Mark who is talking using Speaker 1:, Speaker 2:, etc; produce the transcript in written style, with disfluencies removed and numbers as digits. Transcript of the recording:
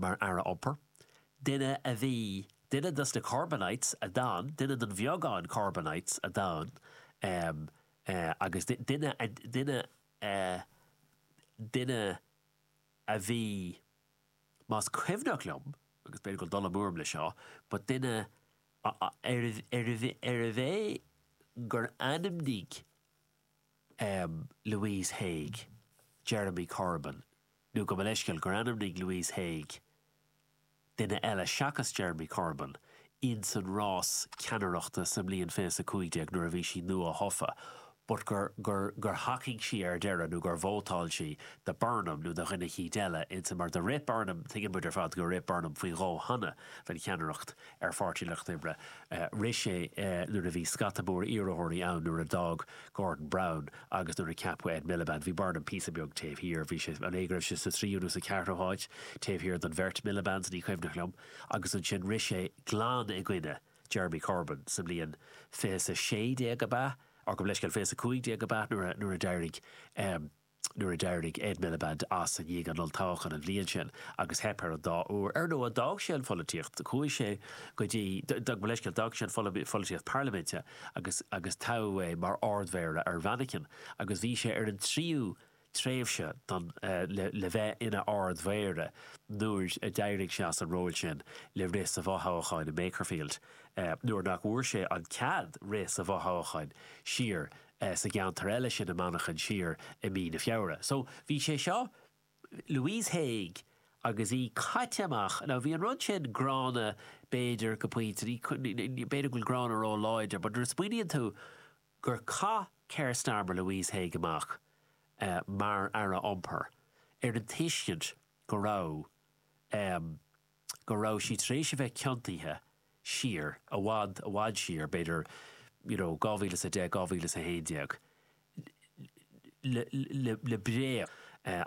Speaker 1: mar Aire Iompair, duine a bhí, duine dos na Corbynites a d'fhan, duine den bheagán Corbynites a d'fhan agus duine, duine, duine a bhí, más cuimhneach liom, agus b'fhéidir go bhfuil dul amú orm le seo, but duine arbh é gur ainmnigh Louise Haigh Jeremy Corbyn, nó gabh mo leithscéal, gur ainmnigh Louise Haigh duine eile seachas Jeremy Corbyn ins an rás ceannaireachta sa mbliain 2015 nuair a bhí sí nua-thofa but gur, gur, gur thacaigh sí ar deireadh nó gur vótáil sí do Burnham nó do dhuine eicínt eile ins an, mar do rith Burnham, tuigeann muid ar fad gur rith Burnham faoi dhó cheana don cheannaireacht ar Pháirtí Lucht Oibre. Rith sé nuair a bhí scata mór iarrthóirí ann nuair a d'fhág Gordon Brown agus nuair a ceapadh Ed Miliband. Bhí Burnham píosa beag taobh thiar, bhí sé, an é go raibh sé sa tríú nó sa cheathrú háit taobh thiar den bheirt Milibands, ní cuimhneach liom, agus ansin rith sé glan i gcoinne Jeremy Corbyn sa mbliain 2016 ab ea? Or gabh mo leithscéal, 2015 ab ea nuair a d'éirigh nuair a d'éirigh Ed Miliband as i ndiaidh an olltoghcháin an bhliain sin agus theip air an dá uair. Ar ndóigh, d'fhág sé an pholaitíocht, chuaigh sé go dtí, gabh mo leithscéal, d'fhág sé an pholaitíocht parlaiminte agus agus toghadh é mar Ard-Mhéara ar Mhanchain agus bhí sé ar an tríú tréimhse don le le bheith ina Ard-Mhéara nuair a d'éirigh sé as an ról sin le rith sa bhfothoghchán i mBakerfield nuair nach bhfuair sé an cead rith sa bhfothoghchán siar sa gceantar eile sin i Manchain siar i mí na Feabhra. So bhí sé seo, Louise Haigh agus í caite amach, now bhí an rud sin gránna b'fhéidir go pointe, b'fhéidir go bhfuil gránna ró-láidir but nuair a smaoiníonn tú gur chaith Keir Starmer Louise Haigh amach mar Aire Iompair ar an tuiscint go raibh go raibh sí tar éis a bheith ciontaithe siar, i bhfad, i bhfad siar, b'fhéidir, you know, 2010, 2011, le, le, le bréag. An.